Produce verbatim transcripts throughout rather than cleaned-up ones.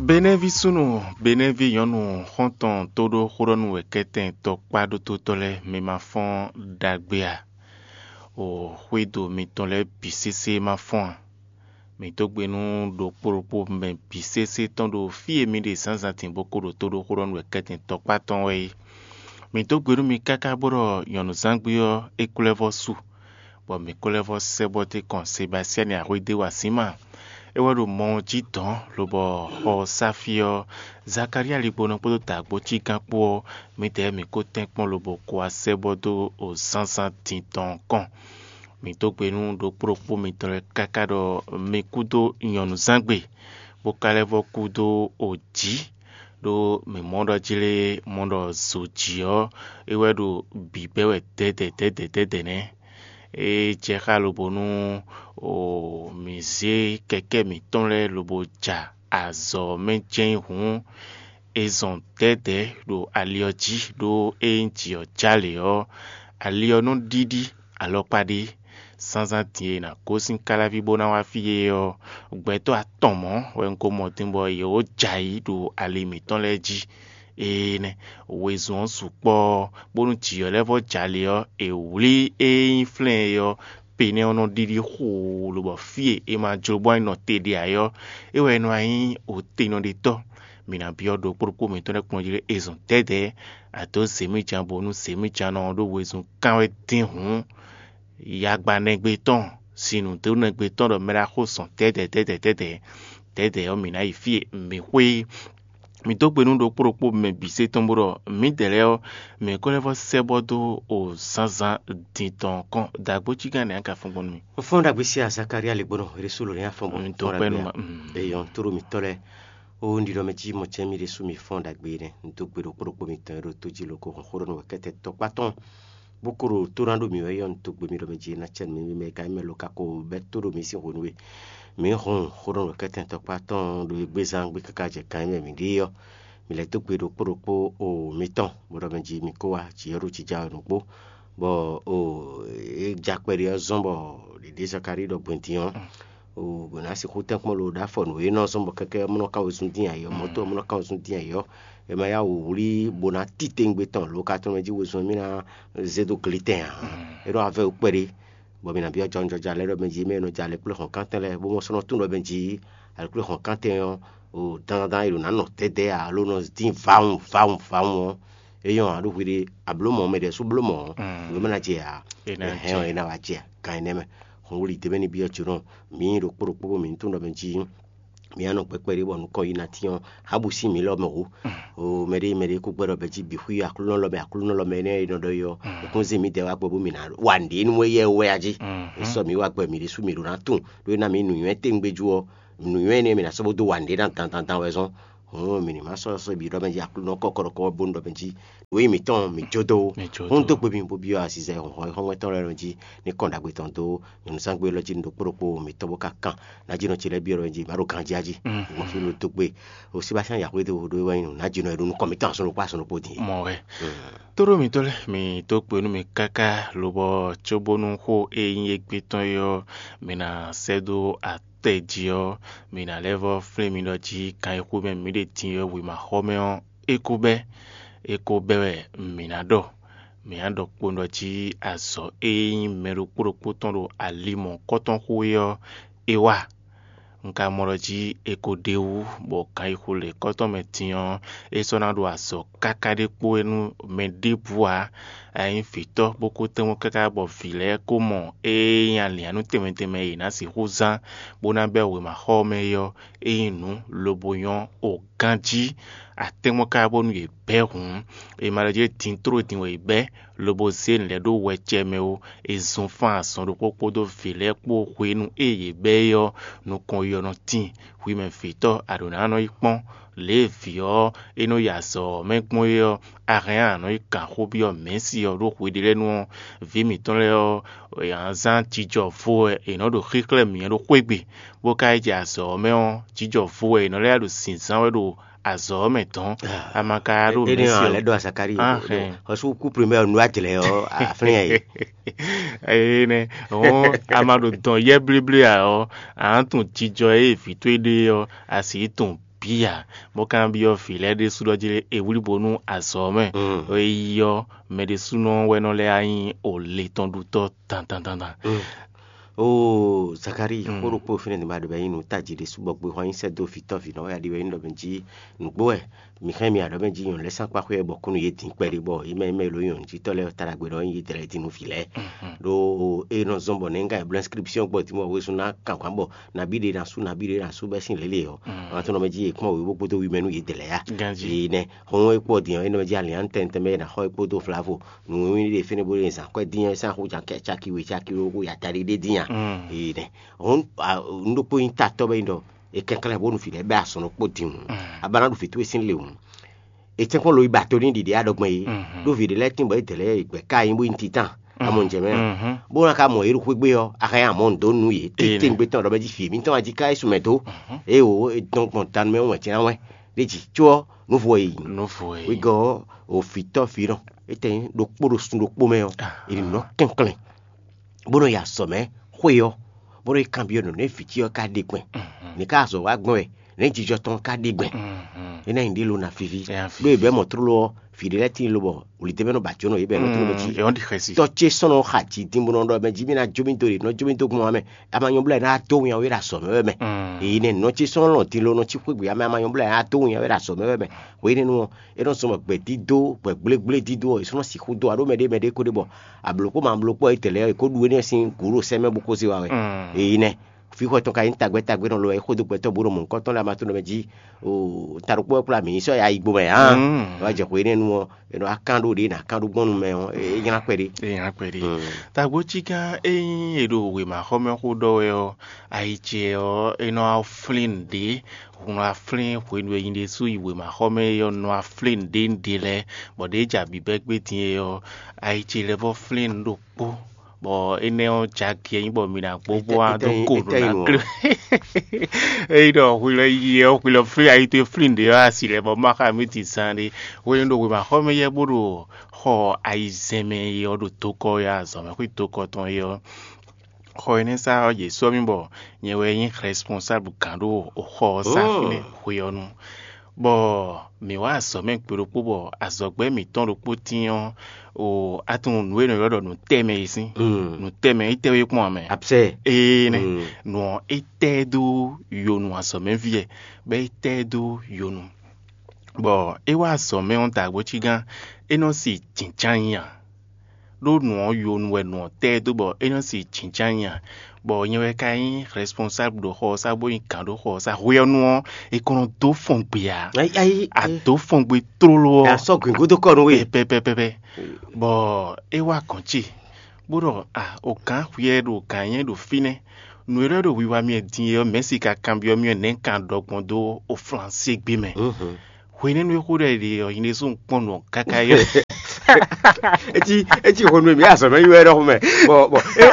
Benɛ́ví súnnu, Benɛ́ví nyɔ̌nu xɔ́ntɔn tóɖó xóɖɔ́nú wɛ kɛ́tɛn tɔkpá ɖótótɔ́ lɛ́ɛ, mi ma fɔ́n ɖagbe a? O xwédo mitɔn lɛ́ɛ bǐ sésé ma fɔ́n a? Mǐ dó gbe nú ɖokpó ɖokpó mɛ bǐ sésé tɔn ɖo fí e mi ɖe zǎnzǎn din bó ko ɖo tó ɖó xóɖɔ́nú wɛ kɛ́tɛn tɔkpá tɔn wɛ é. Mǐ dó gbe nú mi káká bó ɖɔ nyɔ̌nuzángbe ɔ́, é ko lɛ́ vɔ́ su, bɔ mǐ ko lɛ́ vɔ́ sɛ́ bɔ dó kɔn Sebasyani Axwédé wa Zima. É wɛ ɖo mɔ ɔ́ jí dɔ̌n, lobɔ xɔ ɔ́ sá fí ɔ́, Zakalía ligbonɔ kpódó dǎgbócígán kpó ɔ́, mǐdɛɛ mǐ ko tɛ́nkpɔ́n lobo ko wá sɛ́ bɔ dó o zǎnzǎn din tɔn ɔ́ kɔn. Mǐ dó gbe nú ɖokpó ɖokpó mitɔn lɛ́ɛ káká ɖɔ mi kú dó nyɔ̌nuzángbe, bó ka lɛ́ vɔ́ kú dó o jǐ, ɖó mǐ mɔ ɖɔ jlé mɔ ɖɔ zo jǐ ɔ́, é wɛ ɖo bǐbɛ́ wɛ dɛ̌dɛ̌ dɛ̌dɛ̌ dɛ̌dɛ̌ nɛ́. É jɛ xá lobo nú o mǐ zé kɛkɛ́ mǐtɔn lɛ́ɛ lobo ja azɔ̌ ɔ́ mɛ jɛ́n hǔn, è zɔn dɛ̌dɛ̌ ɖo ali ɔ́ jí, ɖó ényí jǐ ɔ́ jálě ɔ́, ali ɔ́ nɔ ɖíɖí alɔkpa ɖé. Zǎnzǎn din e è nǎ gosín káláví bó ná wá fí é ɔ́, gbɛtɔ́ atɔn mɔ̌ wɛ un ko mɔ din bɔ yě wǒ jɛ ayǐ ɖo ali mǐtɔn lɛ́ɛ jí. Énɛ́, wezun ɔ́ sukpɔ́ ɔ́, bónú jǐ ɔ́ lɛ́ vɔ́ jɛ ali ɔ́, è wlí ée nyí flɛ́n e ɔ́, penɛ́ ɔ́ nɔ ɖíɖí xoo, lobɔ fí e è ma jló bɔ é nɔ te ɖe ǎ é ɔ́, é wɛ nɔ wá nyí otenɔɖetɔ́. Mǐ ná byɔ́ ɖokpó ɖokpó mǐtɔn lɛ́ɛ kplɔ́n jí lé è zɔn dɛ̌dɛ̌, a dǒ zěmíjan bónú zěmíjannɔ ɔ́ ɖó wezun kán wɛ dín hǔn. Yagbanɛgbé tɔn, sinnǔdónɛgbé tɔn ɖɔ mɛ ɖaxó zɔn dɛ̌dɛ̌ dɛ̌dɛ̌ dɛ̌dɛ̌, dɛ̌dɛ̌ ɔ́, mǐ ná yi fí e mǐ xwé é. Mǐ dó gbe nú ɖokpó ɖokpó mɛ bǐ sé tɔn bó ɖɔ mǐdɛɛ lɛ́ɛ ɔ́, mǐ ko lɛ́ vɔ́ sɛ́ bɔ dó o zǎnzǎn din tɔn kɔn dǎgbócígán nɛ̌ a ka fɔ́n gbɔn nú mì? Fɔ́n ɖagbe sí Zakalía lě gbɔn nɔ, Resúlu ní afɔ́n bɔ Un dó pɛ́ nú ma. Eyɔn tóɖó mǐtɔn lɛ́ɛ, ó un ɖiɖɔ mɛ jí mɔ cɛ́ mì ɖésú mi fɔ́n ɖagbe nɛ́. Un dó gbe ɖokpó ɖokpó mitɔn e ɖo tó jí loko hɔn xó ɖɔ nú wɛ kɛ́tɛ tɔkpá tɔn, bó ko ɖo tó ná ɖó mǐ wɛ yɔ un dó gbe mì ɖɔ mɛ jí ná cɛ nǔ mì mɛ ka nyí mɛ lo ka ko bɛ́ tó ɖo mǐ sín hwenu e mǐ hun xó ɖɔ nú wɛ kɛ́tɛ tɔkpá tɔn ɖo égbézán gbé káká jɛ kan e mɛ mǐ ɖe ɔ́. Mǐ lɛ́ dó gbe ɖokpó ɖokpó o mitɔn, bó ɖɔ mɛ jí mi kó wá jǐ ɔ́ ɖo jija wɛ nǔgbó, bɔ o é ja kpɛɖé ɔ́ zɔ́n bɔ ɖěɖé Zakalíi ɖɔ gbɛn din ɔ́, o bɔ ná sixú tɛ́nkpɔ́n lo ɖó afɔ nǔ e nɔ zɔ́n bɔ kɛkɛ mɔ nɔ ká wezun dín ayǐ ɔ́, mɔ̌ tɔn mɔ nɔ ká wezun dín ayǐ ɔ́, è ma yá wǔ wlí bó ná titewungbe tɔn lo ka tɔn mɛ jí wezun ɔ́ mì ná zé dó glitɛn ǎ. É ɖɔ avɛ wú kpɛɖé, bɔ mi nǎ byɔ́ jɔnjɔja lɛ́ɛ ɖɔ mɛ jí mɛ e nɔ jɛ alɛkplɔ́hɔnkántɛn lɛ́ɛ, bó mɔ sɔ́ nɔ tún ɖɔ mɛ jí alɛkplɔ́hɔnkántɛn ɔ́, o dandan e ɖo nǎ nɔ dɛ̌dɛ̌ ǎ, ló nɔ dín vawun vawun vawun ɔ́, é nyɔ́ ǎ ɖó hwi ɖé a blǒ mɔ̌, mɛ ɖě sú bló mɔ̌ ɔ́, nǔ mɛ ná jɛ ǎ. Hɛn ɔ́, é ná wá jɛ gan énɛ́ mɛ. Hɔn wuli dě mɛ ní byɔ́ jǒnɔ mǐ ɖo kpó ɖokpó bó mǐ ní tunwun ɖɔ mɛ jí mǐ nɔ gbɛ kpɛɖé bɔ nukɔn yi ná tín ɔ́, hǎ bǔ sín mǐ lɔ mɛ hǔ. O mɛɖé mɛɖé kó gbɛ́ ɖɔ bɛ́ jí bǐ xwí Aklúnɔ lɔ mɛ, Aklúnɔ lɔ mɛ énɛ́ e nɔ ɖɔ é ɔ́, é kún zé mǐdɛɛ wá gbɔ bómì ná wa nǔɖé nú éyɛ́ wɛ a jí. É sɔ́ mǐ wá gbɛ mǐ ɖésú mǐ ɖó ná tunwun, ɖó é ná mǐ nǔnywɛ́ tɛ́ngbéjú ɔ́, nǔnywɛ́ énɛ́ mǐ ná sɔ́ bó dó wa nǔɖé ná dandan dan wɛ zɔ́n. Hǔn mǐ ní má sɔ́ sɔ́ bǐ ɖɔ mɛ jí Aklúnɔ kɔkɔɖɔkɔ bónú ɖɔ mɛ jí nǔ e mǐtɔn mǐ jó dó. Hún dó gbe mì bó byɔ́ azizɛ xɔxɔ́xɔ́mɛ tɔn lɛ́ɛ jí ní kɔn ɖagbe tɔn dó nyɔ̌nuzángbe élɔ́ jí ní ɖokpó ɖokpó mǐtɔn bó ka kan. Ná jí nɔ ce lɛ́ɛ byɔ́ ɖɔ jí má ɖo ganjí a jí. Gbɔn fí ló dó gbe o Sebastiyán Yaxwé dó ɖó é wɛ nyí nǔ ná jí nɔ e ɖo nukɔn mǐtɔn asɔn ɖokpó asɔn ɖokpó din. Mɔ wɛ. Tóɖó mǐtɔn lɛ́ɛ mǐ dó gbe nú mi káká lobɔ cóbónú xó e nyí égbé tɔn é ɔ́, mi ná sɛ́ dó atɛ jí ɔ́, mi ná lɛ́ vɔ́ flín mi ɖɔ jí kan e xú mɛ mǐ ɖe din ɔ́ wěma xɔ mɛ ɔ́, é ko bɛ́. É ko bɛ́ wɛ mǐ ná ɖɔ. Mǐ ná ɖɔ kpowun ɖɔ jí azɔ̌ e nyí mɛ ɖokpó ɖokpó tɔn ɖo ali mɔ̌hunkɔtɔn xo é ɔ́, é wa. Un ka mɔ ɖɔ jí è ko ɖe wú, bɔ kan yi xo lě kɔ́tɔn mɛ din ɔ́, é sɔ́ ná ɖo azɔ̌ káká ɖé kpó é nú mɛ ɖěbǔ ǎ. A nyí vǐtɔ́ bó ko tɛ́nmɔ káká bɔ vǐ lɛ́ɛ ko mɔ ée nyí alǐannú tɛnmɛ tɛnmɛ e yě ná sixú zán bó ná bɛ́ wěma xɔ ɔ́ mɛ é ɔ́, é nyí nǔ lobo nyɔ́ o ganjí. Atɛ́nmɔ ká bónú yě bɛ́ hǔn, è ma ɖɔ jí din tló din wɛ è bɛ́, lobo zé nǔ lɛ́ɛ ɖó wɛcɛ mɛ ó. È zun fán azɔn ɖokpó kpódó vǐ lɛ́ɛ kpó hwenu e yě bɛ́ é ɔ́, nukɔn yi ɔ́ nɔ tíin. Hwi mɛ vǐtɔ́, a ɖǒ ná nɔ yi kpɔ́n lě e vǐ ɔ́ e nɔ yi azɔ̌ ɔ́ mɛ gbɔn é ɔ́, a hɛn a nǎ nɔ yi kan xó byɔ́ Mɛ̌si ɔ́ ɖó hweɖélɛ́nu ɔ́, vǐ mǐtɔn lɛ́ɛ ɔ́, è nǎ zán jijɔ vo wɛ è nɔ ɖo xíxlɛ́ mǐ ɖo xwé gbe, bó ka yi jɛ azɔ̌ ɔ́ mɛ ɔ́, jijɔ vo wɛ è nɔ lɛ́ ɖo zǐnzán wɛ ɖo azɔ̌ ɔ́ mɛ dɔn. A ma ka ɖo Mɛ̌si ɔ́. Lɛ́ ɖɔ Azakali. Ahɛn. Ɔsú kú primɛ ɔ́ nu ajlɛ ɔ́ aflɛ́n yɛ. Ee nɛ, hɔn a ma ɖo dɔn yɛ blíblí ǎ ɔ́, a nǎ tunwun jijɔ e vǐ towe ɖe ɔ́, a sǐ tunwun bǐ ǎ, bó ka byɔ́ vǐ lɛ́ɛ ɖésú ɖɔ jí è wlí bo nú azɔ̌ ɔ́ mɛ. Mm. É yi ɔ́, mɛ ɖésúnɔ wɛ nɔ lɛ́ wá nyí o le tɔn ɖutɔ́ dandan dandan. Mm. Oo, Zakalíi, xó ɖokpó fínɛ́ din ba ɖo bɔ é nyí nǔ tají ɖésú bɔ gbexɔ nyi sɛ́ dó vǐtɔ́ vǐnɔ wɛ a ɖi wɛ nyí ɖɔ mɛ jí nǔgbó wɛ. Mi xlɛ́ mi aɖɔ̌ mɛ jí nyɔ̌nu lɛ́ɛ sín akpáxwé wɛ bɔ kú nú yě din kpɛɖé bɔ yě mɛ yě mɛ lo nyɔ̌nu jí tɔ́ lɛ́ɛ ta ɖagbe ɖɔ nyí yě dlɛ́ din nú vǐ lɛ́ɛ. Ɖó é nɔ zɔ́n bɔ nɛ̌ un ka yi bló ɛnskripsyɔ́n gbɔ din bɔ wezun ná kan hwǎn bɔ nabí ɖé ná sú nabí ɖé ná sú bɛ́ sín lě lě ɔ́, ɔn tɔn nɔ mɛ jí yě kpɔ́n wěwó kpódó wi mɛ nú yě dlɛ́ yá. Ganjí. Yě nɛ́ xɔ́n é kpɔ́ din ɔ́, é nɔ mɛ jí alǐ tɛntɛn mɛ é ná xɔ é kpódó flavo nǔwíwí ɖé fínɛ́ bó ɖe zǎn kɔ́ dín ɔ́ sín axú caki we caki we xó ya ta ɖé ɖé dín a. Yě nɛ́ xɔ́n un ɖokpó nyí tatɔ́ bɛ nyí ɖɔ è kɛnklɛ́n bónú vǐ lɛ́ɛ bɛ́ azɔn ɖokpó din hǔn, a ba ná ɖu vǐ towe sín le hǔn. È tɛ́nkpɔ́n lo yi ba to n'i ɖiɖi aɖɔgbɛn é, ɖó vǐ ɖé lɛ́ɛ tín bɔ é dɛ lɛ́ɛ gbɛ̌ ká nyí bó nyí titán amɔ nǔjɛ mɛ ǎ. Bó ná ka mɔ yě ɖo xwé gbe ɔ́, a hɛn amɔ nǔ dó nú yě. Tete gbé tɔn ɖɔ mɛ jí vǐ mǐtɔn wá jí ká Yɛsu mɛ dó. Ée wǒ è dɔn gbɔn danu mɛ wɛn jɛ́n wɛn ɖé jí có ɔ́, nǔvo e yí. Nǔvo e yí. Wegɔ́ ɔ́, òfǐtɔ́ vǐ nɔ é tɛ nyí ɖokpó ɖo sun ɖokpó mɛ ɔ́, è nǐ nɔ kɛnklɛ́n bó nɔ yi azɔ̌ mɛ xwé ɔ́, bó nɔ yi kanbyɔ́ nǔ nɛ́ vǐ ce ɔ́ ka ɖe gbɛn. Nǐ ká azɔ̌ wa gbɔn wɛ, nɛ̌ jijɔ tɔn ka ɖe gbɛn. É ná nyi ɖé lo ná fífí. Ɖó è bɛ̌ mɔ tlóló ɔ́, vǐ ɖé lɛ́ɛ tíin lobɔ wlǐdɛ́ mɛ nɔ ba jǒnɔ yě bɔ è nɔ tlóló jí. Tɔ́ ce sɔ́ nɔ xa jǐ din bó nɔ ɖɔ mɛ jí mì ná jó mì dó ɖě, nɔ jó mì dó gbɔn ame. A ma nyɔ́ blɛ́ ná dó winnyá wé ɖo azɔ̌ mɛ wɛ mɛ. Èyí nɛ nɔ ce sɔ́ nɔ lɔn din lo nɔ cí xwé gbe ame, a ma nyɔ́ blɛ́ ná dó winnyá wé ɖo azɔ̌ mɛ wɛ mɛ. Hwenɛ́nu ɔ́, é nɔ zɔ́n bɔ gbɛ̌ dídó, gbɛ̌ gblégblé dídó ɔ́, è sɔ́ nɔ sixú dó ǎ ɖó mɛɖé mɛɖé ko ɖe bɔ ablǒkpó ma ablǒkpó ɔ́, é tɛ̌ lɛ́ɛ è kó ɖu énɛ́ sín gǔ ɖo sɛ́ mɛ bó kó zé wa wɛ. Èyí nɛ fíxɔ tɔn ka nyí tagbɛ́ tagbɛ́ nɔ lo wɛ é xódó gbɛtɔ́ bó ɖo mɔ̌hunkɔtɔn lɛ́ɛ ma tó nɔ mɛ jí. O ta ɖokpó wɛ kplá mǐ yi sɔ́ ya yi gbo mɛ hǎn. Wá jɛ xwe énɛ́ nu ɔ́, è nɔ wá kán ɖó ɖě è nǎ kán ɖó gbɔn nu mɛ ɔ́, é nylá kpɛɖé. É nylá kpɛɖé. Tagbó cí gán ényí è ɖo wěmaxɔmɛ xó ɖɔ wɛ ɔ́, ayi ce ɔ́, é nɔ wá flín nǔɖé. Hun nɔ wá flín hwenu e nyi ɖésú yi wěmaxɔmɛ é ɔ́, nɔ wá flín nǔɖé nǔɖé lɛ́ɛ, bɔ ɖěe jɛ abǐbɛ́ gbé din é ɔ́, ayi ce lɛ́ vɔ́ flín nǔ ɖokpó. Bɔ énɛ́ ɔ́ jɛ agě nyí bɔ mi ná gbó bó wá dó go nǔ ná klé. Ényí ɖɔ hwi lɔ yi ɔ́, hwi lɔ flín ayi towe flín ɖě ɔ́, asi lɛ́ bɔ má xa mì ti zán ɖé. Hwenu ɖo wěmaxɔmɛ yɛ bó ɖo xɔ ayizɛ́n mɛ é ɔ́ ɖo dokɔ ɔ́ azɔ̌ mɛ xwé dokɔ tɔn é ɔ́, xɔ énɛ́ sá ɔ́, yě sɔ́ mì bɔ nyɛ wɛ nyí rɛspɔnsáblu gǎn ɖo xɔ ɔ́ sá fínɛ́ hwe ɔ́ nu. Bɔ mǐ wá azɔ̌ mɛ gbe ɖokpó bɔ azɔ̌gbɛ́ mǐtɔn ɖokpó tíin ɔ́, o a tunwun nǔ e è nɔ ylɔ́ ɖɔ nǔtɛmɛ é sín. Nǔtɛmɛ é tɛ́ wú é kpɔ́n ǎ mɛ. Absɛ. Ee nɛ, nǔ ɔ́ é tɛ́ ɛ dó yonu azɔ̌mɛví wɛ, bɔ é tɛ́ ɛ dó yonu. Bɔ é wá azɔ̌ mɛ ɔ́ dǎgbó cí gán, é nɔ si jǐnján nyi ǎ. Ɖó nǔ ɔ́ yonu wɛ nǔ ɔ́ tɛ́ ɛ dó bɔ é nɔ si jǐnján nyi ǎ. Bɔ nyɛ wɛ ka nyí rɛspɔnsáblu ɖo xɔ ɔ́ sá bó nyí gǎn ɖo xɔ ɔ́ sá. Hwe ɔ́ nu ɔ́, è ko nɔ dó fɔn gbe ǎ. Ayi, ayi, a dó fɔn gbe tlóló ɔ́, a sɔ́ gǔngúdú kɔ nú we. Pɛpɛpɛpɛ. Bɔ é wá gɔ̌n ce, bó ɖɔ a o gǎn hwiɛ ɖo gǎn nyɛ ɖo fínɛ́. Nǔ e lɛ́ ɖo wiwa mì din é ɔ́, mɛ̌si ka kanbyɔ́ mì wɛ nɛ̌ un ka ɖɔ gbɔn dó o Flansé gbé mɛ. Hwenɛ́nu e xó ɖɔ è ɖe ɔ́, nyi ɖésú un kpɔ́n nǔ ɔ́ káká é. Etsi etsi xɔnu mi azɔ mɛ yi wɛ ɖɔ xɔmɛ. Bɔ bɔ e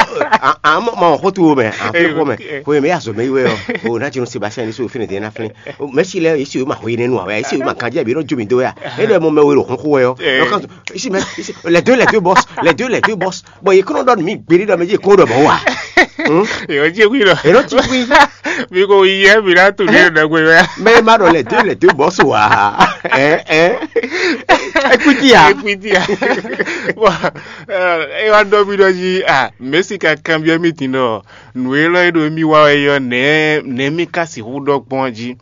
a a ma ma xɔ tu wo mɛ a fi xɔ mɛ. Xɔmɛ mi azɔ mɛ yi wɛ ɔ o na tsi nu Sebastian ni so fini de na flin. Mɛ si lɛ esi o ma xɔ yi ne nu awɛ esi o ma kan jɛ bi no jo mi do ya. E lɛ mo mɛ wo lo xɔn xɔ wɛ ɔ. Esi mɛ esi les deux les deux boss les deux les deux boss. Bɔ yi kɔnɔ dɔ mi gberi dɔ mɛ ji kɔnɔ dɔ mɔ wa. Yɔ tsi kui lɔ. Eno tsi kui. Mi ko yi yɛ mi na tu ne ɖe gbe wɛ. Mɛ ma ɖɔ les deux les deux boss wa. Ɛ ɛ. Ekwiti ya. Ekwiti ya. Wa e wa dɔ mi dɔ ji a mɛsi ka kanbiɔ mi tin dɔ nu e lɔ e ɖo mi wa wɛ yɔ nɛ nɛ mi ka si hu dɔ gbɔn ji.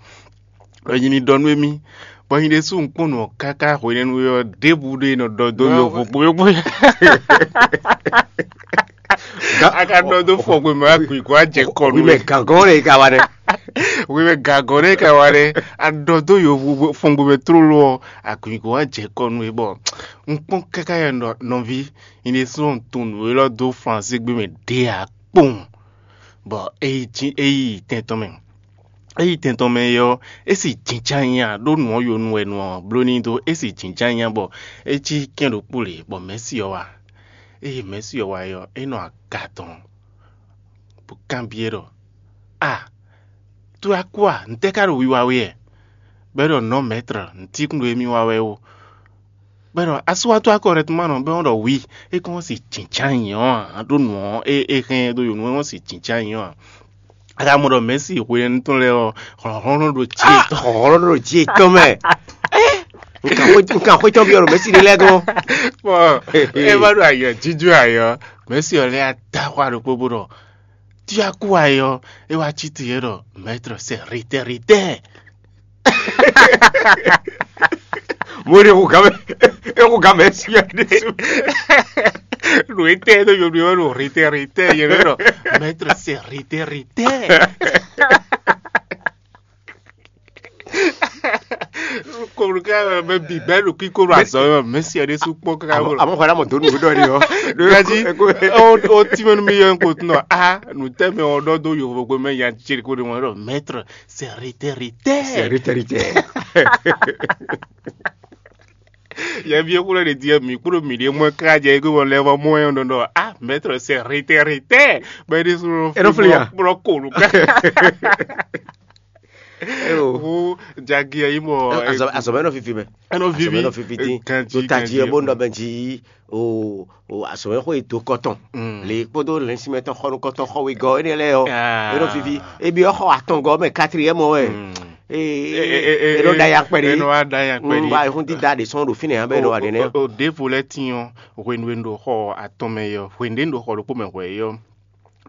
Ɔ nyi mi dɔ nu emi. Bɔ nyi ɖe su nkpɔn nɔ kaka hwenɛnu yɔ ɖebu ɖe nɔ dɔ do yɔ vo kpo yɔ kpo. A ka dɔ do fɔ gbe mɛ akui ko a jɛ kɔ nu. Wi mɛ gangɔn ɖe ka wa ɖe. Wi mɛ gangɔn ɖe ka wa ɖe. A dɔ do yɔ vo fɔ gbe mɛ trolo ɔ akui ko a jɛ kɔ nu e bɔ. Nkpɔn kaka yɔ nɔvi nyi ɖe su tunnu e lɔ do flansi gbe mɛ ɖe a kpɔn. Bɔ eyi tɛn tɔn mɛ. Eyi tɛn tɔn mɛ é ɔ́, é si jǐnján nya ɖó nǔ ɔ́ yonu wɛ nu ɔ́ bló n'i dó é si jǐnján nya bɔ é cí kɛ́n ɖokpó lě bɔ mɛ̌si ɔ́ wá. Ée mɛ̌si ɔ́ wá é ɔ́, é nɔ aga tɔn bó kanbyɔ́ ɖɔ: “A, to wɛ a kú a? Ntɛ́ ka ɖo wiwa we wɛ?” Bɔ é ɖɔ: “Nɔ̌ mɛ̌trɔ, nǔtíkún ɖo émí wa wɛ ó.” Bɔ é ɖɔ: “Asú wá tó akɔ rɛtuma nɔ bɔ é ɖɔ wi, é kɔn si jǐnján nyi ɔ́ ǎ, ɖó nǔ ɔ́ é é hɛn ɖó yǒnu é wɔn si jǐnján nyi ɔ́ ǎ.” A ka mɔ ɖɔ Mɛ̌si hwenɛ́nu tɔn lɛ́ɛ ɔ́, hlɔ̌nhlɔ́n ɖo jǐ yětɔn. Hlɔ̌nhlɔ́n ɖo jǐ yětɔn mɛ. Nkan xwé tɔn byɔ́ ɖo Mɛ̌si ɖé lɛ́ɛ gɔ́n. Bɔ é wá ɖo ayǐ ɔ́, jínjɔ́n ayǐ ɔ́, Mɛ̌si ɔ́ lɛ́ dó axwá ɖokpó bó ɖɔ: "Tí a kú ayǐ ɔ́, é wá cí te é ɖɔ: 'Mɛ̌trɔ, sɛ ritɛ́ ritɛ́.'" Mo ɖe xo gǎn mɛ, é xo gǎn mɛ sí wɛ ɖésú. Ɖo étɛ́ ɖo yɔɖu ɔ́ ɖo ritɛ́ ritɛ́ yɛ ɖɔ: "Mɛ̌trɔ, sɛ ritɛ́ ritɛ́." Kɔmɖuká mɛ bǐ bɛ́ ɖo kíkó ɖo azɔ̌ mɛ, Mɛ̌si ɔ́ ɖésú kpɔ́n káká bó. Àmọ́ xɔ ɖá mọ̀ dó nǔ ɖɔ ni ɔ́. Gaji, ó tínmɛ nú mì yɔ ko tún nɔ a nǔtɛ́mɛ ɔ́ ɖɔ dó yovogbe mɛ nya ce ko ɖe mɔ ɖɔ: "Mɛ̌trɔ, sɛ ritɛ́ ritɛ́." Sɛ ritɛ́ ritɛ́. Yɛvi e xwlɛ ɖe diɛ mǐ kpódó mǐ ɖe mɔ ká jɛ ego mɔ lɛ vɔ mɔ ɛ ɖɔ ɖɔ: "A mɛ̌trɔ, sɛ ritɛ́ ritɛ́." Bɛ ɖésú É nɔ flí a? Kplɔ́ kolu ká. Eo. Hu jagi ɛ yi mɔ. Azɔ azɔ mɛ nɔ fifi mɛ. Ɛnɔ Azɔ vivi. Mɛ nɔ fifi dín. Ganji, Ɖo tají ganji. Ɛ bó nɔ bɛ jí o o azɔ mɛ xɔ yi do kɔtɔn. Mm. Le kpódó lɛnsímɛ tɔn xɔnu kɔtɔn xɔ wegɔ énɛ́ lɛ́ɛ ɔ́. Ah. É nɔ fifi. Ebi ɔ́ xɔ atɔngɔ mɛ quatrième wɛ. Mm. Ee, É- é- é- é nɔ é- da ya kpɛ ɖe. É nɔ wá da ya kpɛ ɖe. Ba ehun dídá ɖe sɔn ɖo fínɛ ya bɛ ɖo wa ɖe nɛ. O ɖěvo lɛ́ɛ tín ɔ́, hwenu e un ɖo xɔ atɔn mɛ é ɔ́, hwenu ɖé un ɖo xɔ ɖokpó mɛ hwɛ é ɔ́,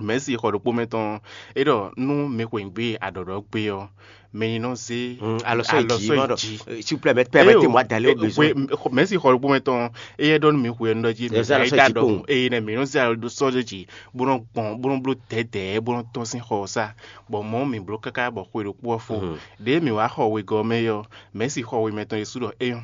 Mɛ̌si xɔ ɖokpó mɛ tɔn, é ɖɔ nú mi xweyǐgbe aɖɔ̌ɖɔ́ gbe ɔ́, mi ní nɔ zé Alɔ sɔ yi alɔ jí sɔ yi ma ɖɔ jí. S'il vous plaît, mɛ pɛ mɛ te mɔ adalé o bezɔn. Mɛ̌si xɔ ɖokpó mɛ tɔn, éyɛ́ ɖɔ nú mi xwe ɔ́, un ɖɔ jí Ɛ zé alɔ sɔ yi jí kpowun. Eye nɛ mi nɔ zé alɔ ɖó sɔ́ ɖé jí, bó nɔ gbɔn bó nɔ bló dɛ̌dɛ̌ bó nɔ tɔ́n sín xɔ ɔ́ sá, bɔ mɔ̌ mi bló káká bɔ xwe ɖokpó ɔ́ fó. Ɖěe mǐ wá xɔ wegɔ́ ɔ́ mɛ é ɔ́, Mɛ̌si xɔ we mɛtɔn ɖésú ɖɔ é nyɔ́.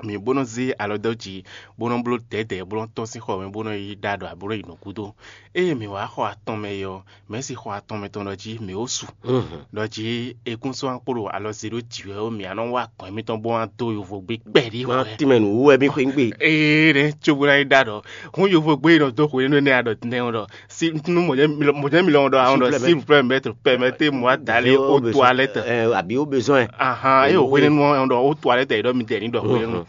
Mǐ bó nɔ́ zé alɔ dó jǐ, bó nɔ́ bló dɛ̌dɛ̌, bó nɔ́ tɔ́n sín xɔ mɛ, bó nɔ́ yi ɖó aɖɔ, bó nɔ́ yi nǔ gúdo. Ée mǐ wá xɔ atɔn mɛ é ɔ́, Mɛ̌si xɔ atɔn mɛ tɔn ɖɔ jí mǐ ó su. Ɖɔ jí è kún sɔ́ akpó ɖo alɔ zé ɖó jǐ wɛ ó, mǐ á nɔ wá gɔ̌n émítɔn bó wá dó yovogbe kpɛɖí Má hwɛ. Tínmɛ nǔ wú wɛ mì xwé ngbé. Ée nɛ́ cóbó ná yi ɖó aɖɔ, hǔn yovogbe e nɔ dó hwenu énɛ́ aɖɔ nɛ́ ɔ́ ɖɔ, si nú mɔ̌ jɛ́n mi lɔn ɖɔ ahɔn ɖɔ: "S'il vous plaît, maître, permettez-moi d'aller aux toilettes." Àbí ó bezɔn ɛ. Ahan, é o hwenu ɔ́ ɖɔ aux toilettes, é ɖɔ mi dɛ ní ɖɔ hwenu.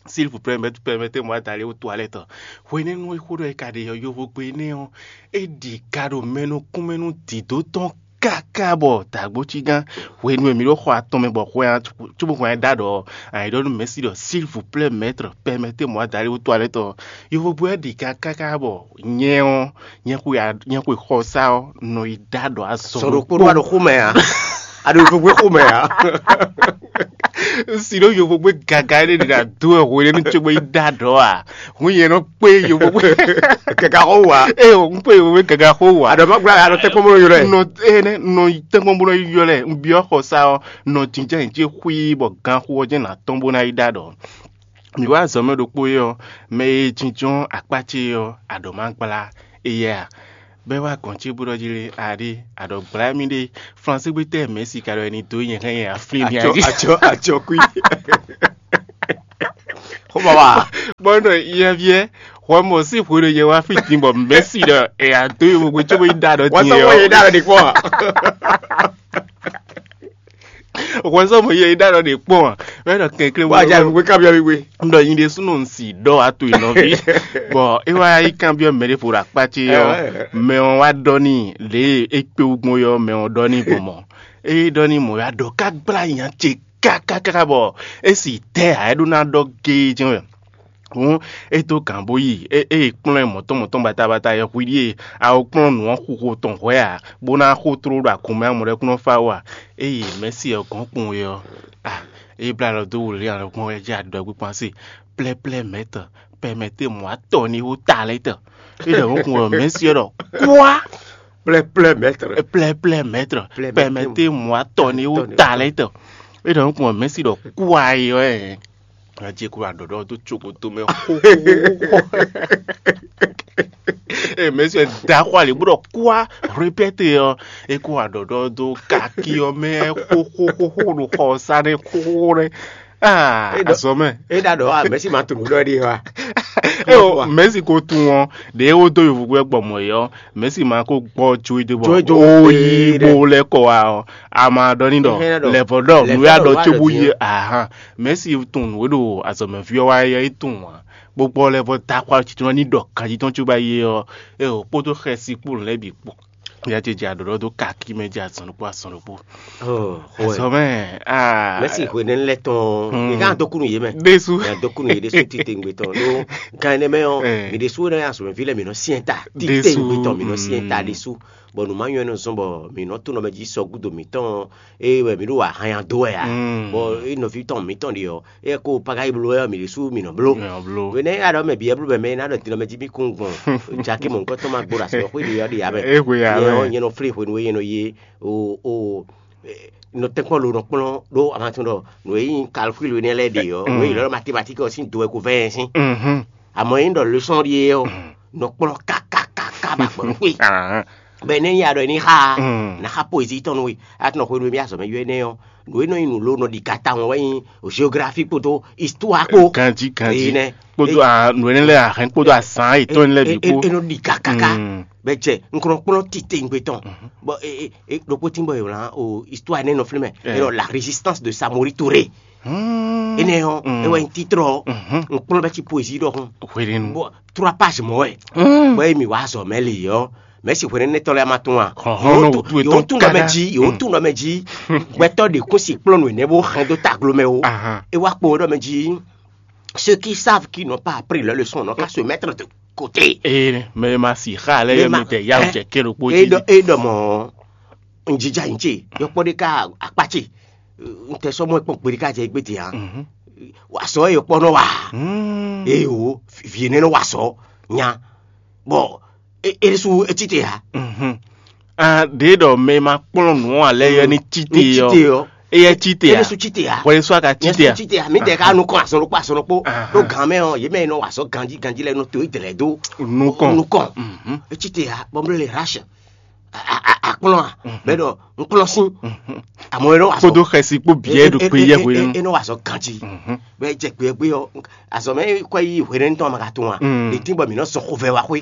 "S'il vous plaît, permettez-moi d'aller aux toilettes." Hwenɛ́nu e xó ɖɔ é ka ɖe ɔ́, yovogbe énɛ́ ɔ́, é ɖi ga ɖo mɛ nukúnmɛ nú dǐdó tɔn káká bɔ dǎgbócígán. Hwenu e mǐ ɖo xɔ atɔn mɛ bɔ hwɛ cóbó hwɛ ɖó aɖɔ ɔ́, ayǐ ɖɔ nú Mɛ̌si ɖɔ: "S'il vous plaît, maître, permettez-moi d'aller aux toilettes." Yovogbe ɔ́ ɖi ga káká bɔ nyɛ ɔ́, nyɛ xwe a- nyɛ xwe xɔsá ɔ́ nɔ yi ɖó aɖɔ azɔn Sɔn ɖokpó ɖokpó. Ɖo aɖo xomɛ ǎ. Aɖo yovogbe xomɛ ǎ. Si ɖo yovogbe gaga ɖé ɖe ɖo ado ɛ hwe ɖé nú cógbe yi ɖó aɖɔ a? Hun yɛ nɔ kpé yovogbe. Gaga xɔ wa. Eye o, un kpé yovogbe gaga xɔ wa. Aɖɔ ma gbla aɖɔ tɛkpɔn bó nɔ ylɔ ɛ. Nɔ ene nɔ tɛkpɔn bó nɔ ylɔ ɛ. Un byɔ́ xɔsá ɔ́, nɔ jínjɔ́n yě jí xwí bɔ ganxu ɔ́ jɛ́n nǎ tɔ́n bó ná yi ɖó aɖɔ. Mǐ wá azɔ̌ mɛ ɖokpó é ɔ́, mɛ e jínjɔ́n akpá ce ɔ́, aɖɔ ma gbla éyɛ́ a? Bɛ́ wá gɔ̌n ce bó ɖɔ jí lé, aɖé aɖɔ gbla mì ɖé. Flansé gbé tɛ́ Mɛ̌si ka ɖɔ é ní dó nyɛ hɛn nyɛ aflín ní Atsɔ ají. Atsɔ atsɔ kui. Xɔmɔ wa. Bɔn ɖɔ yɛviɛ, xɔmɔ sí hwe ɖo yɛ wá fí din bɔ Mɛ̌si ɖɔ ɛ adó yovogbe cóbó yi ɖó aɖɔ Wọ́n din sọ wọ́n yɛ yé dára ní pọ̀. Wọ́n sọ mọ̀ yɛ yi ɖó aɖɔ ní pọ̀. Wọ́n ɖɔ kɛnklɛ́n Wọ́n á jẹ́ àlùkò kábíyá wíwé. N ɖɔ yin ɖésúnɔ n si ɖɔ ato yi nɔvi. Bɔn é wá yi kanbyɔ́ mɛ ɖé vo ɖo akpá ce ɔ́, mɛ ɔ́ wá ɖɔ n'i lě e é kpé wú gbɔn é ɔ́, mɛ ɔ́ ɖɔ n'i gbɔn mɔ̌. É ɖɔ n'i mɔ̌ wá ɖɔ ká gbla nya ce kákákáká bɔ é si tɛ́ ǎ é ɖó ná ɖɔ géé jɛ́n wɛ. Hǔn é dó gǎn bó yi, é é yi kplɔ́n ɛ mɔ̌tɔn mɔ̌tɔn batabata yɛhwi ɖíe a ko kplɔ́n nǔ ɔ́ xuxo tɔn hwɛ̌ ǎ, bó ná xó tló ɖo agun mɛ amɔ ɖɛ́ kún nɔ fá wú ǎ. É yi Mɛ̌si ɔ́ gɔ́n kpowun é ɔ́, a é blá alɔ dó wǔlí alɔ gbɔn wɛ jɛ aɖɔgbíkpɔ́n se: "Plɛ́plɛ́ mɛ̌tɔ, pɛmɛtɛ́ mɔ̌ atɔn ní wú ta lɛ́ tɔ." É ɖɔ nǔ kun wɛ Mɛ̌si ɔ́ ɖɔ: "Kwá!" Plɛ́plɛ́ mɛ̌tɔ. "Plɛ́plɛ́ mɛ̌tɔ, pɛmɛtɛ́ mɔ̌ atɔn ní wú ta lɛ́ tɔ." É ɖɔ nǔ kun wɛ Mɛ̌si ɖɔ: "Kwá!" É ɔ́ ɛ. Ŋa jɛ kó aɖɔ̌ɖɔ́ dó cokoto mɛ xóxóxóxó. Ee, mɛ sɛ da xɔ ali bó ɖɔ kwá répɛte ɔ́, é kó aɖɔ̌ɖɔ́ dó kaki ɔ́ mɛ xóxóxóxó ɖo xɔ ɔ́ sá nɛ xóxóxó nɛ. Aa, azɔ mɛ. É ɖa ɖɔ a mɛ̌si ma tunú ɖɔ ɖi wa. Eo, mɛ̌si ko tun ɔ́, ɖě é wó dó yovugbe gbɔ mɔ̌ é ɔ́, mɛ̌si ma ko gbɔ jó é dó bɔ Jó é jó ó yí é bó lɛ́ kɔ wá ɔ́, a ma ɖɔ ní ɖɔ Éhɛ́n, ɖɔ lɛ̌vɔ́ ɖɔ lɛ̌vɔ́ nǔ ya ɖɔ ɖɔ nǔ ya ɖɔ cóbú din yé ɔ́. Ahan. Mɛ̌si tunwun nǔ e ɖo azɔ̌mɛví ɔ́ wa é ɔ́, é tunwun ǎ. Bó gbɔ lɛ́ vɔ dó axwá jǐ tɔn ní ɖɔ ganjí tɔn cóbá yi é ɔ́, é ò kpódó xɛsi kpó nǔ lɛ́ɛ bǐ kpó. Ya ce jɛ aɖɔ̌ɖɔ dó kakí mɛ jɛ azɔn ɖokpó azɔn ɖokpó. Oh, Azɔn mɛ aa. Mɛsi hwenɛnu lɛ tɔn Hmm. mi ka dɔkunu yé mɛ. Ɖésú. Ya dɔkunu yé ɖésú titengbe tɔn ɖó gan ɛnɛ mɛ ɔ Eh. mi ɖésú ne azɔmɛvi lɛ mi nɔ siɛn ta Ɖésú, titengbe tɔn mi nɔ siɛn ta mm. Ɖésú. Bɔ nǔ ma nyɔ ɛnɔ zɔn bɔ mi nɔ to nɔmɛ jí sɔ gúdo mitɔn eye wɛ mi ɖo ahan ya dó wɛ a. Mm. Bɔ e nɔvi tɔn mitɔn ɖi ɔ eye ko paga yi blo wɛ ɔ mi ɖésú mi nɔ blo. Yɔ blo. Wene ya ɖɔ mɛ bi ɛblu bɛ mɛ na ɖɔ dinɔ mɛ jí mi kún gbɔn jaki mɔ nukɔ tɔn ma gbó ɖo asɔ xwé ɖi ɔ ɖi ya mɛ. E hwe ya Nyɛ ɔ mɛ. nyɛ nɔ flé hwenu e nyɛ nɔ ye o o nɔ tɛnkpɔn lo nɔ kplɔn ɖó amatun ɖɔ nǔ e nyí calcul nɛ lɛ ɖe ɔ Mm. nǔ e yǐ lɔ ma thématique ɔ sín do wɛ ko vɛ yɛn sín. Mhm. Àmọ́ yín ɖɔ leçon ɖíe ɔ nɔ kplɔn kakakaka ba gbɔn xwé. Ahan. Bɛ ne ya ɖɔ ní xa Mm. na xa poésie tɔn nú we atɔn xwé nú mi azɔ mɛ yɔ énɛ́ ɔ nǔ e nɔ nyi nǔ lo nɔ ɖi gata wọn wɛ nyi géographie kpódó histoire kpó. Ganji ganji. Eyi nɛ. Kpódó a nǔ énɛ́ lɛ́ɛ ahɛn kpódó azán yětɔn lɛ́ɛ bǐ kpó. E nɔ ɖi kakaka. Mm. Bɛ jɛ n kɔnɔ kplɔn titewungbe tɔn bɔ e e e ɖokpó tí bɔ yewlan o histoire ne nɔ filmɛ Eh. e nɔ la résistance de Samori Touré Hmm. ene yɔ Mm. e wɛ n titre ɔ Mhm. n kplɔn bɛ ti poésie dɔ kun Hwenɛnu. bɔ trois pages mɔ wɛ Mm. bɔ emi wa azɔ mɛ li yɔ mɛ si hwenɛ ne tɔ lɛ ma tún wa Hɔn, hɔn, nɔ wutu etɔn yɔ tún dɔ mɛ kada. dzi yɔ tún dɔ mɛ dzi gbɛtɔ de kún si kplɔn nu ne bo hɛn do taglo mɛ o Ahan. e wa kpo dɔ mɛ dzi ceux qui savent qui n'ont pas appris leur leçon n'ont qu'à se mettre de côté. Ee, mɛ ma si xa lɛ Mɛ yɛ ma- mi tɛ yawu ɛ- jɛ kɛ ɖokpó E ji. dɔ e dɔ mɔ n jija yin ce yɔkpɔ de ka akpa ce n tɛ sɔmɔ kpɔn kpe de ka jɛ egbe de hã Mhm. wa sɔ yɔkpɔ nɔ wa Mm. eye wo vie ne nɔ wa sɔ nya bɔn e e su etsi te ya Mhm. Ah, ɖe ɖɔ mɛ ma kplɔn nǔ alɛ yɛ ni tsi te etsi te yɔ. yɔ Eyɛ tsi te ya. Yesu tsi te ya Xɔ Yesu aka tsi te ya. Yesu tsi te ya mi tɛ ka nu kɔn asɔn ɖokpɔ asɔn ɖokpɔ Aha. ɖo gan mɛ ɔ ye mɛ nɔ wa sɔ ganji ganji lɛ nɔ to idɛlɛ do Nukɔn. nukɔn Mhm. etsi te ya bɔn blo le rache akplɔn a bɛ dɔ nkplɔn sin Mhm. àmọ́ e nɔ wa sɔ Kpódó xɛsi kpó biɛ ɖo kpe yɛ hwe nu. E nɔ wa sɔ ganji Mhm. bɛ jɛ kpe gbe yɔ azɔ mɛ kɔ yi hwe ne ntɔ ma ka to wa Mm. de ti bɔ mi nɔ sɔn xovɛ wa xwe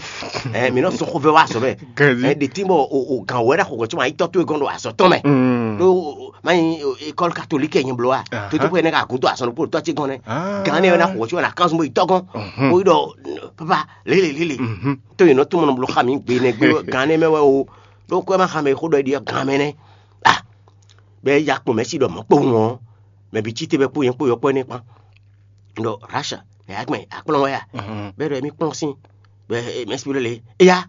ɛ mi nɔ sɔn xovɛ wa azɔ mɛ Ganji. ɛ de ti bɔ o o gan wɛ na xɔgɔ tí ma yi tɔ to e gɔn do azɔ tɔn mɛ Mm. ɖo mayi école catholique yɛ nyɛ blo wa Aha. to to ko yɛ ne ka gudo asɔn ɖokpó tɔ ti gɔn nɛ Ah. gan ne yɛ na xɔgɔ tí ma na kan zun bo yi tɔ gɔn Mhm. o yi dɔ papa lele lele Mhm. to yi nɔ tún mɔ nɔ blo xa mi gbe ne gbe gan ne mɛ wɛ o ɖo kɔ ma xa mɛ xo ɖɔ yi ɖi gan mɛ nɛ ah bɛ ya kpɔn mɛ si ɖɔ mɔ kpɔn ŋɔ mɛ bi tsi te bɛ kpó yɛn kpó yɔ kpɔ ne kpan ɖɔ rasha ne ya gbɛn akplɔn wɛ ya Mhm. bɛ ɖɔ mi kpɔn si bɛ mɛ si lele eya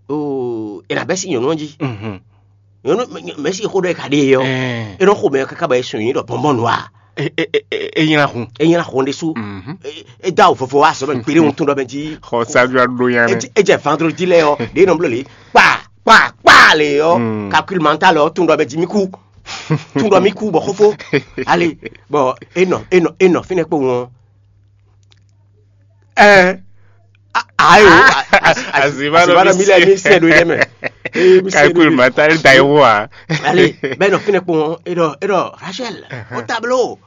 o ena bɛ si nyɔnu ji Mhm. nyɔnu mɛ si xo ɖɔ ka ɖe yɔ Eh. enɔ xo mɛ kaka bɛ sun yi ɖɔ bɔnbɔn nua E e e e e nyina hun. eyin xɔ ɖe su Mhm. eda o fɔfɔ wa sɔmɛ gbere ŋutɔ ɖɔ mɛ ji Xɔ sadu ado yan nɛ. edze vendredi lɛ yɔ ɖe nɔ blo le kpa kpa kpa le yɔ Mm. calcul mental yɔ tun ɖɔ bɛ ji mi ku tun ɖɔ mi ku bɔ xofo ale bɔ enɔ enɔ enɔ finɛ kpo ŋɔ ɛ ayo Azima ɖo azima ɖo mi lɛ mi sɛ ɖo yɛ mɛ ee mi sɛ Calcul ɖo mental da yi wo a. ale bɛ nɔ finɛ kpo ŋɔ edɔ edɔ Rachel o tableau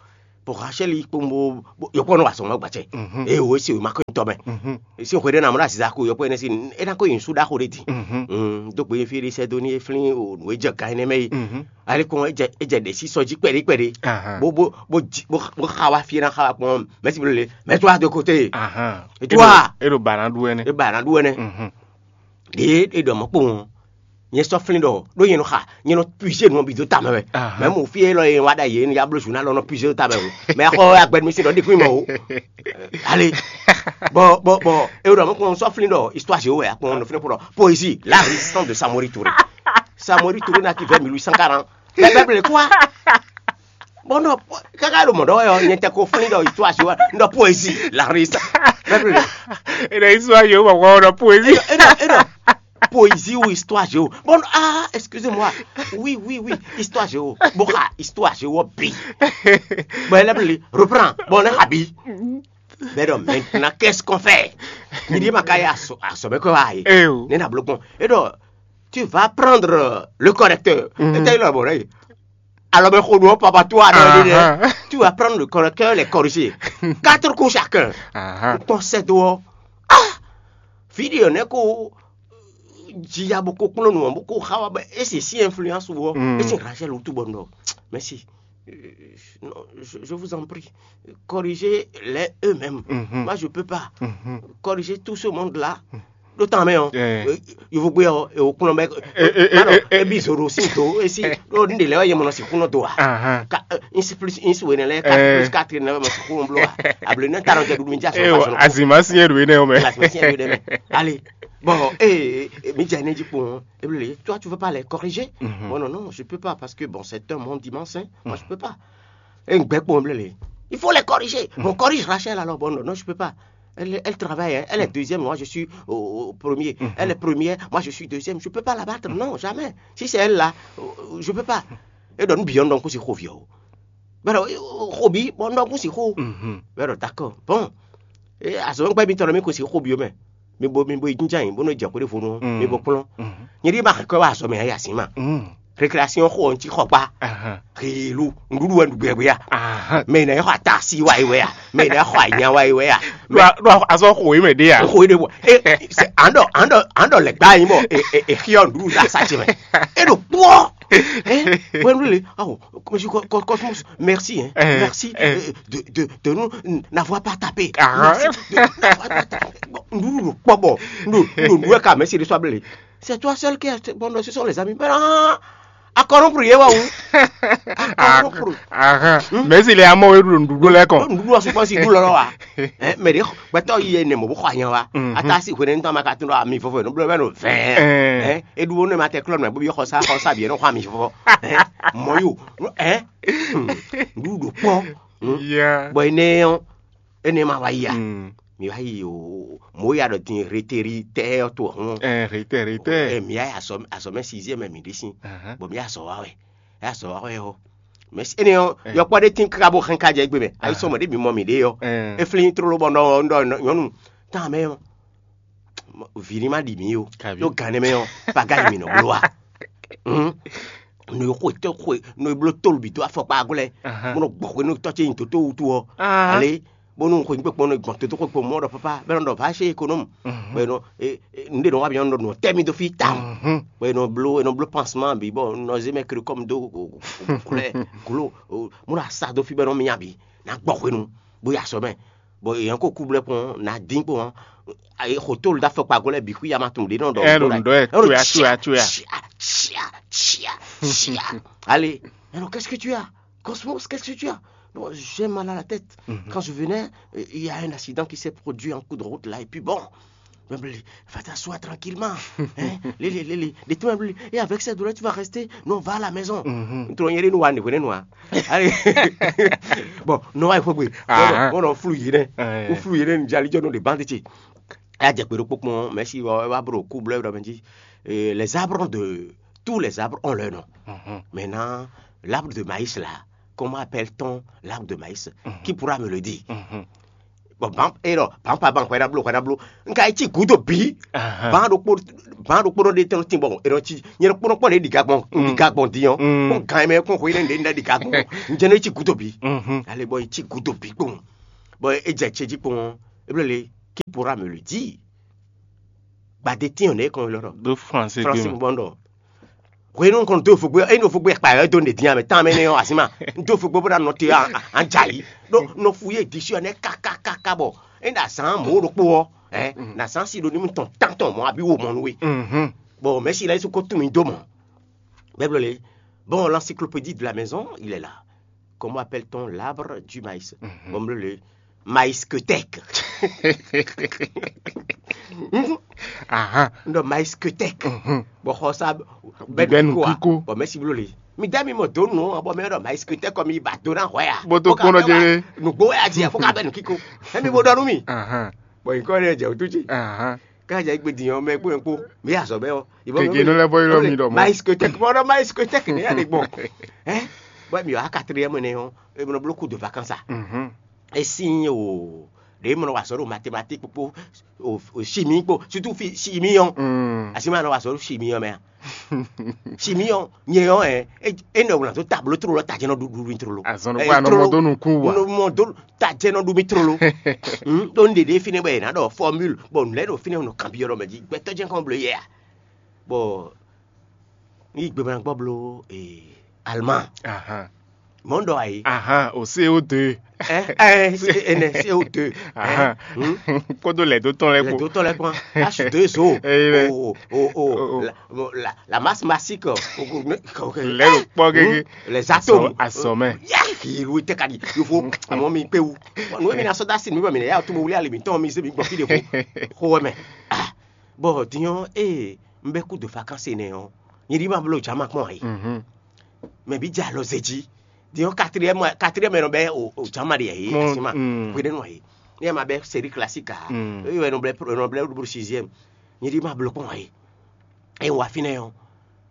bɔ Rachel yi kpɔn bo yɔkpɔ nɔ wa sɔn ma gbatsɛ Mhm. eye o esi o ma kɔ tɔ mɛ Mhm. esi o xɔ ɖe na mɔ ɖe asi ko yɔkpɔ ne si ena ko yin su ɖaxo ɖe di Mhm. Mm, do gbe fi ɖe sɛ do ni eflin o nu edze gan ne mɛ yi Mhm. ale kɔn edze edze ɖe si sɔ dzi kpɛɖe kpɛɖe Ahan. bo bo bo dzi bo bo xa wa fi na xa wa kpɔn mɛ si bo le mɛ to wa de côté Ahan. Et toi? Eɖo bana ɖu ɛnɛ. E ba na ɖu ɛnɛ Mhm. ɖe e ɖɔ mɔ kpɔn nyɛ sɔ flin ɖɔ ɖo nyɛ nɔ xa nyɛ nɔ puiser nɔ bi do tame wɛ Ahan. mɛ mo fi e lɔ ye wa ɖa ye ya blo su na lɔ nɔ puiser do tame o mɛ xɔ agbɛnumi si ɖɔ ɖi kun mɔ o ale bɔ bɔ bɔ e ɖɔ mɔ kpɔn sɔ flin ɖɔ histoire géo wɛ akpɔn nɔ flin kpɔn poésie la résistance de Samori Touré Samori Touré na ki vingt mille huit cent quarante bɛbɛbɛlɛ quoi bon non kaka ɖo mɔ ɖɔ yɔ nyɛ tɛ ko flin ɖɔ histoire géo wɛ ndɔ poésie la résistance bɛbɛlɛ Eɖe histoire géo bɔ kɔ ɖɔ poésie. e non e non poésie ou histoire géo bon ah excusez-moi oui oui oui histoire géo bon ah histoire géo bi bon elle appelle reprend bon on a bi mais donc maintenant qu'est-ce qu'on fait il dit ma kaya so a so be ko ayi Eh o. Ne na blo bon et donc tu vas prendre le correcteur Mhm. et t'as eu le bon alors ben kodo papa toi non Ahan. Tu vas prendre le correcteur, les corriger. Quatre coups chacun. Ahan. Ton set dehors. Ah! Vidéo ne ko jia boko kpɔn nu boko xawa ba esi si influence wo Mm. esi Rachel ou tout bon non. Mais si euh, non, je, je vous en prie, corrigez-les eux-mêmes. Mhm. Moi, je peux pas Mhm. corriger tout ce monde-là. ɖó tán mɛ ɔ́, yovogbé ɔ́, èwò kplɔ́n bɛ. Ebi zòɖo sín do esi ɖó ní ɖe lɛ wɛ yɛ mɔ nɔ sixú nɔ do a. Ka isi plus isi wɛ nɛ lɛ quatre plus quatre nɛ wɛ mɔ sixú nɔ bló a. Able ne ta nɔ jɛ ɖuɖu mi dza sɔ. Azima siɲɛ ɖo enɛ o mɛ. Azima siɲɛ ɖo enɛ mɛ. Allez. Bon, eh, mi dza ne dzi kpɔn. Eble, toi, tu veux pas les corriger? Bon, non, non, je peux pas parce que bon, c'est un monde immense, hein. Moi, je peux pas. Et un bec pour le. Il faut les corriger. On corrige Rachel alors. Bon, non, non, je peux pas. Elle, elle travaille, hein. Elle est deuxième, moi je suis au, au premier. Elle est première, moi je suis deuxième. Je peux pas la battre, non, jamais. Si c'est elle là, euh, je peux pas. Et donne bien donc c'est Rovio. Bɛrɛ, xobi bɔ un ɖɔ kún sixú. Bɛrɛ, d'accord. Bon, azɔ̌ gbɛ́ mitɔn mi kún sixú xobi mɛ. Mi bo mi bo yi jínjɔ́n ayǐ bónú jɛ xwé ɖěvo nú mi bo kplɔ́n. Nyɛ ɖíe ma hɛn kɔ́ wá azɔ̌ mɛ ayé así ma. Récréation xo ɔn ci xɔ kpa. Helu, nɖuɖu wɛ nɖu gbɛgbɛ ya. Mɛ ina xɔ ata si wa yi wɛ ya. Mɛ ina xɔ anya wa yi wɛ ya. Ɖo azɔ xo yi mɛ ɖe ya. Xo yi ɖe bɔ. An ɖɔ an ɖɔ an ɖɔ lɛ gba yi mɔ. E e e xiyɔ nɖuɖu ta sa ce mɛ. E ɖo kpɔ. Hein? Ouais, nous, les- ah, oh, comme je- co- co- Cosmos, merci, hein. Merci euh, de, de, de nous n- n'avoir pas tapé. Merci de nous n'avoir pas tapé. Bon, nous, nous, pas bon. Nous, nous, nous, quand même, c'est le soir, c'est toi seul qui a. Bon, non, ce sont les amis. Mais non, à corrompre, il y a où? À corrompre. Mɛ si le amɔ e ɖo nuɖuɖu lɛ kɔn. Nuɖuɖu ɔsukpɔ si ɖu lɔlɔ wa. Mɛ ɖe gbɛtɔ yi ne mɔ bó xɔ anya wa. Ata si hwene ŋutɔ ma ka tún ɖɔ ami vɔvɔ nɔ blɔ bɛ nɔ vɛɛ. Eɖu wo ne ma tɛ klɔ nɔ bó bi xɔ sa xɔ sa bi nɔ xɔ ami vɔvɔ. Mɔ yo. Nuɖuɖu kpɔ. Bɔ ene ɔ ene ma wa yi a. Mi wá yi o mɔ̌ ya ɖɔ din reteri tɛ ɔ́ to hɔn. Retɛ retɛ. Mi wá yi azɔmɛ sixième mɛ mi ɖe sin. Bɔ mi azɔ wa wɛ. Azɔ wa wɛ ɔ. Mɛ si ene ɔ yɔkpɔ ɖe tin kaka bó hɛn ka jɛ egbe mɛ. Ayi sɔmɔ ɖe mi mɔ mi ɖe ɔ. E flin tlolo bɔ nɔ nɔ nyɔnu tán mɛ ɔ. Vǐ ní má ɖi mǐ o. Ɖó gan nɛ mɛ ɔ paga yi mǐ nɔ bló wa. No xwe tɔn xwe no bló tólu bǐ dó afɔkpa gɔ́ lɛ́ɛ. Mo nɔ gbɔ xwe nú tɔ́ ce nyi dǒtó wutu ɔ́. Ale bónú xwe gbé kpɔ́n nɔ gbɔn dǒtó xwe kpɔ́n mɔ ɖɔ papa bɛ nɔ ɖɔ va chez économe. Bɛ nɔ nu ɖe nɔ wa bi nɔ nɔ tɛ mi dó fí tawun. Bɛ nɔ bló nɔ bló pansement bi bɔ nɔ zé mɛ kiri kɔm dó kulɛ kulo. Mo nɔ asa dó fí bɛ nɔ mi abi na gbɔ xwe nu bó ya sɔ mɛ. Bon, èèyàn kò kú blɛ́ kpɔn ná dín kpɔn. Xotó da fɔkpa gɔ́ lɛ́ɛ bǐ xwí ama tunwun ɖě nɔ ɖɔ. Ɛ ɖo nǔ ɖɔ ɛ tsoya tsoya tsoya. Allez, alors qu'est-ce que tu as? Cosmos, qu'est-ce que tu as? Non, j'ai mal à la tête. Quand je venais, euh, il y a un accident qui s'est produit en cours de route là, et puis bon, va t'asseoir tranquillement. Hein? Lélé, lélé. De toi, et avec cette douleur, tu vas rester? Non, va à la maison. Ntɔn yɛrɛ nu wa ne hwene nu wa. Allez. Bon, non, il faut que. Bon, non, flou yɛrɛ. Ou flou yɛrɛ ni jali jɔ no de bande ti. A jɛ kpe ɖokpó kpɔn, mɛ si wɔ wa bro ku blɔ ɖɔ mɛ jí. Les arbres de tous les arbres ont leur nom. Maintenant, l'arbre de maïs là, comment appelle-t-on l'arbre de maïs? Qui pourra me le dire? Bon, ban e ɖɔ ban pa ban hwɛ ɖablo hwɛ ɖablo nka yi ci gudo bi. Ban ɖokpo ban ɖokpo ɖe tɛn ti bɔ e ɖɔ ci nyɛ ɖokpo ɖokpo ɖe ɖiga gbɔn ɖiga gbɔn di yɔn. Kpɔn gan mɛ kpɔn hwɛ ɖe ɖe ɖiga gbɔn njɛ ne ci gudo bi. Ale bɔ yi ci gudo bi kpɔn bɔ e jɛ ce ji kpɔn e ble le qui pourra me le dire? Gbade tiɲɔ ne kɔn lɔ ɖɔ ɖo français français gbɔn ɖɔ. Hwenu kɔn do fugbe enu fugbe kpa yɔ do ne dinya mɛ tan mɛ ne yɔ asima do fugbe bó na nɔ te an dza yi ɖo nɔ fu ye disi yɔ ne kakakaka bɔ e na zan mɔ ɖokpo wɔ ɛ na zan si ɖo nimu tɔn tantɔn mɔ abi wo mɔ nu we. Bon, mɛ si la yesu ko tun mi do mɔ bɛblo le. Bon, l'encyclopédie de la maison il est là. Comment appelle-t-on l'arbre du maïs? Bon, le maïskotèque. Ndɔ maïskotèque. Bɔ xɔ sa bɛ nu kiko. Bɔ mɛ si blo le. Mi da mi mɔ do nu bɔ mɛ ɖɔ maïskotèque kɔ mi ba do na hwɛ ya. Bo to kpɔn jɛ. Nugbo ya di ya fo ka bɛ nu kiko. Emi bo dɔ nu mi. Bɔ yi kɔ ne jɛ o tu ci. Ká jɛ gbe diyan mɛ kpó yẹn kpó mi yà sɔ bɛ ɔ. Keke nɔ lɛ bɔ yɔrɔ mi dɔ mɔ. Maïskotèque bɔ dɔ maïskotèque ne ya de gbɔn. Ɛ bɔ mi yɔ a quatrième ne yɔ e mɔ blo coup de vacances a. Esi o ɖe mɔ wa sɔ ɖo mathématique kpó o chimie kpó surtout fi chimie yɔ. Asi ma nɔ wa sɔ ɖo chimie yɔ mɛ a. Chimie yɔ nyɛ yɔ ɛ e nɔ wlan to tableau trolo ta jɛ nɔ ɖuɖu trolo. Azɔn kó anɔ mɔ dó nukun wa. Nɔ mɔ dó ta jɛ nɔ ɖu mi trolo. Ɖo n ɖeɖe fi ne bɔ yɛ na ɖɔ formule bɔ n lɛ ɖo fi ne nɔ kan bi yɔrɔ mɛ ji gbɛtɔ jɛ kɔn blo yɛ a. Bɔ n yi gbe ma gbɔ blo ee alma. Mɔ̌ un ɖɔ ǎ é. Ahan, o C O deux. Ɛ ɛ, C- ɛnɛ C O deux. Ahan. Kpódó lɛ̌ dó tɔn lɛ́ɛ kpó. Lɛ̌ dó tɔn lɛ́ɛ kpɔ́n. H deux O. Eye lɛ. O o o O- o- la- la masse massique. Lɛ̌ ɖo kpɔ́ gégé. Les atomes. Azɔmɛ. Yá, hilu tɛ ka di yofo. Amɔ mi kpe wu. Nú mi na sɔ́ dá sí mi bɔ mi nɛ yá tó mo wlí ali mi tɔn mi zé mi gbɔ fí ɖe xo xo wɛ mɛ. Bɔ dinyɔn ee un bɛ kú do vacances nɛ ɔ́, nyɛ ɖi ma bló jama kpɔn ayi. Mɛ bí jɛ alɔ zé jí. Dinyɔn quatrième quatrième nɔ bɛ o o jama ɖe yɛ Mo- asi ma mm. Hwe ɖe nɔ ayi. Ne ma bɛ série classique a. Mm. Eye nɔ blɛ nɔ blɛ ɖo sixième. Nyɛ ɖi ma bló kpɔn ayi. Eye wa fínɛ ɔ́,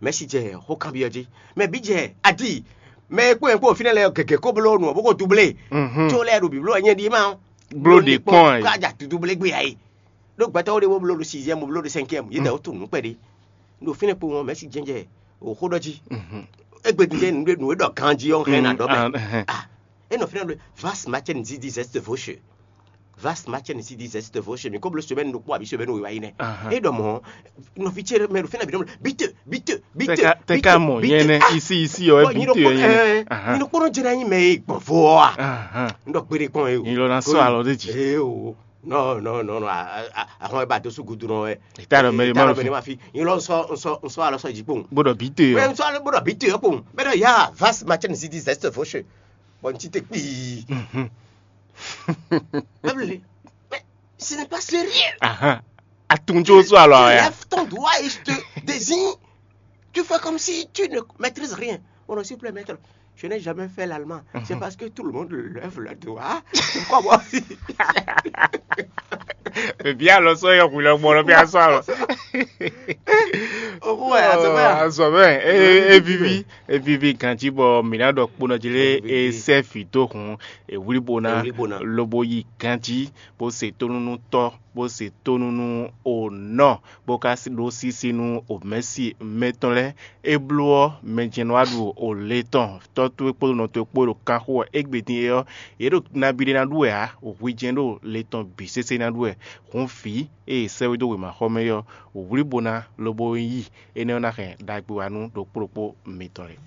mɛ si jɛ xó kanbyɔ́ jí. Mɛ bí jɛ adi. Mɛ e kpó e kpó fínɛ lɛ gɛgɛ kó bló nɔ bó ko doublé. Mhm. Tó lɛ ɖo bǐbló nyɛ ɖi ma. Bló ɖe kpɔn ayi. Ká ja doublé gbé ayi. Ɖó gbɛtɔ́ wo ɖe wo bló ɖo sixième, wo bló ɖo cinquième, yě dɛ wo tunú nǔ kpɛɖé. Ɖo fínɛ́ kpowun ɔ́, mɛ̌si jɛ́njɛ o xó ɖɔ jí. Égbé din jɛ́n nǔ ɖé nǔ e ɖɔ ganjí ɔ́ hɛn ná ɖɔ mɛ. Ah, é nɔ fínɛ́ ɖɔ, vas match n zidi zɛ́st vóche. Vas match n zidi zɛ́st vóche. Mi ko bló semaine ɖokpó abǐ semaine wěwá yi nɛ. É ɖɔ mɔ̌, nɔví ce mɛ ɖo fínɛ́ bǐ ɖɔ bite bite bite. Tɛka mɔ nyɛ nɛ isi isi ɔ bite ɔ nyɛ nɛ. Nyi ɖokpó nɔ jɛ ná nyi mɛ e gbɔn vo ɔ́ a? N ɖɔ gbére kpɔn e o. Nyi lɔ ná sɔ alɔ ɖe jí. Ee o. Non, non, non, non. Ahɔn e ba dó sú gudu nɔ wɛ. Ìta ɖɔ mɛɖe má lɔ fi. Yín lɔ nsɔ nsɔ nsɔ alɔ sɔ jí kpowun. Bó ɖɔ bí te ɔ. Nsɔ alɔ bó ɖɔ bí te ɔ kpowun. Bɛ ɖɔ ya vas match n zidi zɛst vóche. Bɔn n ti te kpii. Bɛbli. Mais ce n'est pas sérieux. Ahan. Atunjo sɔ alɔ ya. Lève ton doigt et je te désigne. Tu fais comme si tu ne maîtrises rien. Mon nom, s'il vous plaît, maître, je n'ai jamais fait l'allemand. C'est parce que tout le monde lève le doigt. Pourquoi moi aussi? Ebi alɔ sɔ yɔ hu lɛ gbɔ lɔ bi asɔ alɔ. Owó ɛ azɔ bɛ. Azɔ bɛ. E e vivi e vivi ganji bɔ mina dɔ kponɔ dzi lé e sɛ vi do hun e wuli bona lobo yi ganji bo se tonunu tɔ bo se tonunu o nɔ. Bó ka ɖó sísí nú omɛ̌si mɛtɔn lɛ́ɛ. É bló ɔ́, mɛ jɛ́n nɔ wá ɖu o le tɔn tɔ́ towe kpódó nɔ towe kpó ɖo kanxó ɔ́. Égbé din é ɔ́, yě ɖo nabí ɖé ná ɖu wɛ ǎ. Hwi jɛ́n ɖo le tɔn bǐ sésé ná ɖu wɛ. Hǔn vǐ e è sɛ́ wé dó wěmaxɔmɛ é ɔ́, wlí bo ná lobo yí. Énɛ́ ɔ́ ná hɛn ɖagbe wá nú ɖokpó ɖokpó mitɔn lɛ́ɛ.